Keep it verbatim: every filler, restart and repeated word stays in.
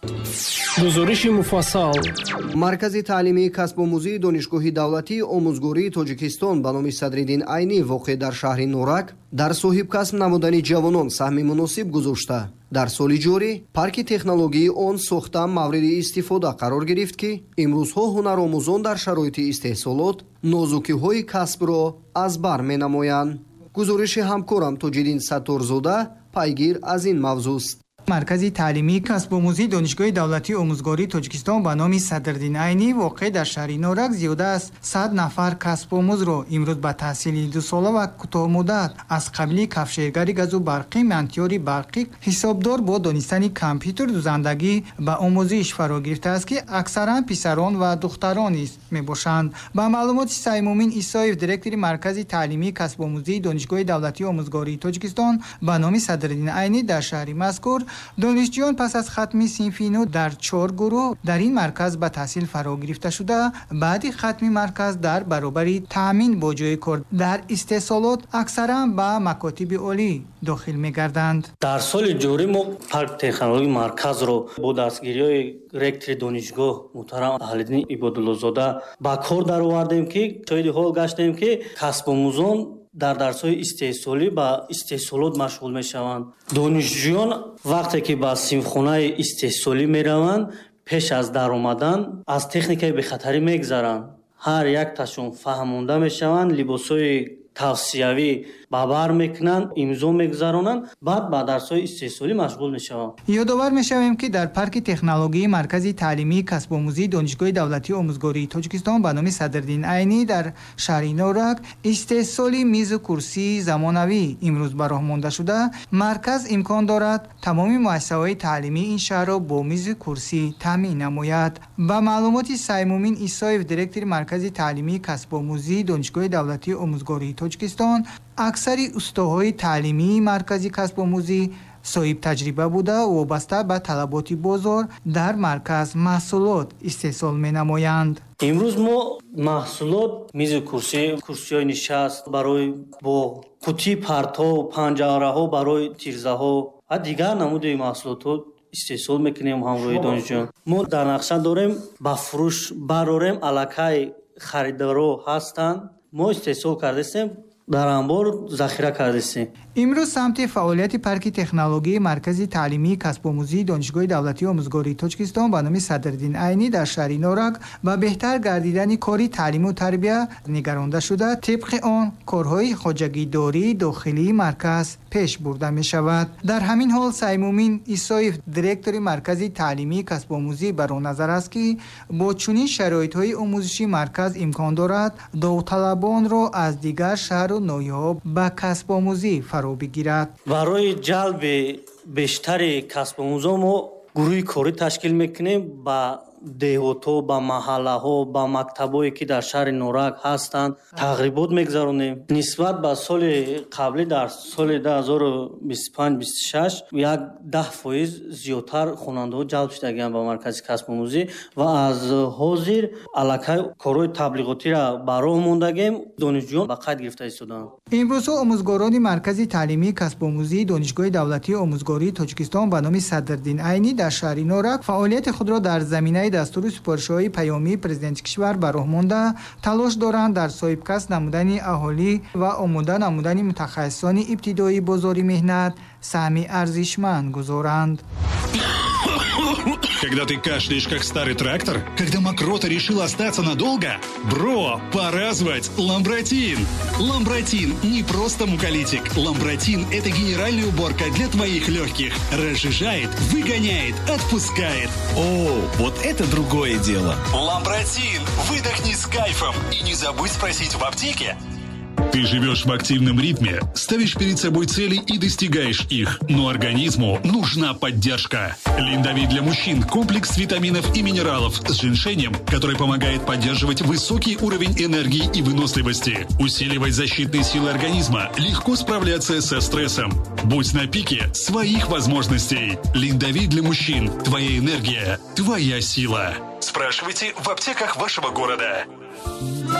Гузориши муфассал. Маркази таълимии касбомӯзии Донишгоҳи давлатии омӯзгории Тоҷикистон ба номи Садриддин Айнӣ, воқеъ дар шаҳри Норак, дар соҳибкасб намудани ҷавонон саҳми муносиб гузошта, дар соли ҷорӣ парки технологияи он сохта мавриди истифода қарор гирифт, ки имрӯзҳо ҳунаромӯзон дар шароити истеҳсолот нозукиҳои касбро аз бар менамоянд. Гузориши ҳамкорам Тоҷиддин Сатторзода пайгир аз ин мавзӯст. Маркази таълимии касбомӯзии Донишгоҳи давлатии омӯзгории Тоҷикистон ба номи Садриддин Айнӣ, воқеъ дар шаҳри Норак, зиёда аз сад нафар касбомӯзро имрӯз ба таҳсили дусола ва кӯтоҳмуддат аз қабили кафшергари газу барқӣ, мантиёри барқӣ, ҳисобдор бо донистани компютер, дузандагӣ ба омӯзиш фаро гирифтааст, ки аксаран писарон ва духтарон низ мебошанд. Ба маълумоти Саймумин Исоев, директори Маркази таълимии касбомӯзии Донишгоҳи давлатии омӯзгории Тоҷикистон ба номи Садриддин Айнӣ дар шаҳри мазкур, донишҷӯён пас аз хатми синфи нӯ дар чор гурӯҳ дар ин марказ ба таҳсил фаро гирифта шуда, баъди хатми марказ дар баробари таъмин бо ҷои кор дар истеҳсолот аксаран ба макотиби олӣ дохил мегарданд. Дар соли ҷорӣ мо парк технологии марказро бо дастгириҳои ректори донишгоҳ муҳтарам Аҳлиддин Ибодуллозода ба кор даровардем, ки шоҳиди ҳол гаштем, ки касбомӯзон дар дарсҳои истеҳсолӣ ба истеҳсолот машғул мешаванд. Донишҷӯён вақте ки ба синфхонаи истеҳсолӣ мераванд, пеш аз даромадан аз техникаи бехатарӣ мегзаранд. Ҳар якташон фаҳмонда мешаванд, либосҳои тавсиявӣ ба бар мекунанд, имзо мегузаронанд, баъд ба дарсҳои истеҳсолӣ машғул мешаванд. Ёдовар мешавем, ки дар парки технологияи Маркази таълимии касбомӯзии Донишгоҳи давлатии омӯзгории Тоҷикистон ба номи Садриддин Айнӣ дар шаҳри Норак истеҳсоли мизу курсии замонавӣ имрӯз ба роҳ монда шуда, марказ имкон дорад тамоми муассисаҳои таълимии ин шаҳрро бо мизу курсӣ таъмин намояд. Ба маълумоти Саймумин Исоев, директори Маркази таълимии касбомӯзии Донишгоҳи давлатии омӯзгории Тоҷикистон, аксари устоҳои таълимии маркази касбомӯзӣ соҳибтаҷриба буда, вобаста ба талаботи бозор дар марказ маҳсулот истеҳсол менамоянд. Имрӯз мо маҳсулот мизу курсӣ, курсиҳои нишаст барои боғ, қутии партов, панҷараҳо барои тирзаҳо ва дигар намуди маҳсулотҳо истеҳсол мекунем ҳамроҳи донишҷӯён. Мо дар нақша дорем ба фурӯш барорем, аллакай харидоро ҳастанд. Мо истеҳсол кардастем, дар анбор захира кардастем. Имрӯз самти фаъолияти парки технологияи Маркази таълимии касбомӯзии Донишгоҳи давлатии омӯзгории Тоҷикистон ба номи Садриддин Айнӣ дар шаҳри Норак ба беҳтар гардидани кори таълиму тарбия нигаронда шуда, тибқи он корҳои хоҷагидории дохилии марказ пеш бурда мешавад. Дар ҳамин ҳол Саймумин Исоев, директори Маркази таълимии касбомӯзӣ, бар он назар аст, ки бо чунин шароитҳои омӯзишӣ марказ имкон дорад довталабонро аз дигар шаҳру ноҳияҳо ба касбомӯзӣ фаро бигирад. Барои ҷалби бештари касбомӯзон мо гурӯҳи корӣ ташкил мекунем ба деҳотҳо, ба маҳаллаҳо, ба мактабҳое ки дар шаҳри Норак ҳастанд, тағрибот мегузаронем. Нисбат ба соли қаблӣ, дар соли ду ҳазору бисту панҷ бисту шаш як даҳ фоиз зиёдтар хонандаҳо ҷалб шудагианд ба маркази касбомӯзӣ ва аз ҳозир аллакай корҳои таблиғотиро ба роҳ мондагем, донишҷӯён ба қайд гирифта истодаанд. Имрӯзҳо омӯзгорони Маркази таълимии касбомӯзии Донишгоҳи давлатии омӯзгории Тоҷикистон ба номи Садриддин Айнӣ дар шаҳри Норак фаъолияти худро дар заминаи дастуру супоришҳои паёмии президенти кишвар ба роҳ монда, талош доранд дар соҳибкасб намудани аҳолӣ ва омода намудани мутахассисони ибтидоии бозори меҳнат саҳми арзишманд гузоранд. Когда ты кашляешь, как старый трактор? Когда мокрота решила остаться надолго? Бро, пора звать Ламбратин! Ламбратин не просто муколитик. Ламбратин – это генеральная уборка для твоих легких. Разжижает, выгоняет, отпускает. О, вот это другое дело! Ламбратин! Выдохни с кайфом и не забудь спросить в аптеке. Ты живешь в активном ритме, ставишь перед собой цели и достигаешь их. Но организму нужна поддержка. Линдовит для мужчин – комплекс витаминов и минералов с женьшенем, который помогает поддерживать высокий уровень энергии и выносливости, усиливать защитные силы организма, легко справляться со стрессом. Будь на пике своих возможностей. Линдовит для мужчин – твоя энергия, твоя сила. Спрашивайте в аптеках вашего города.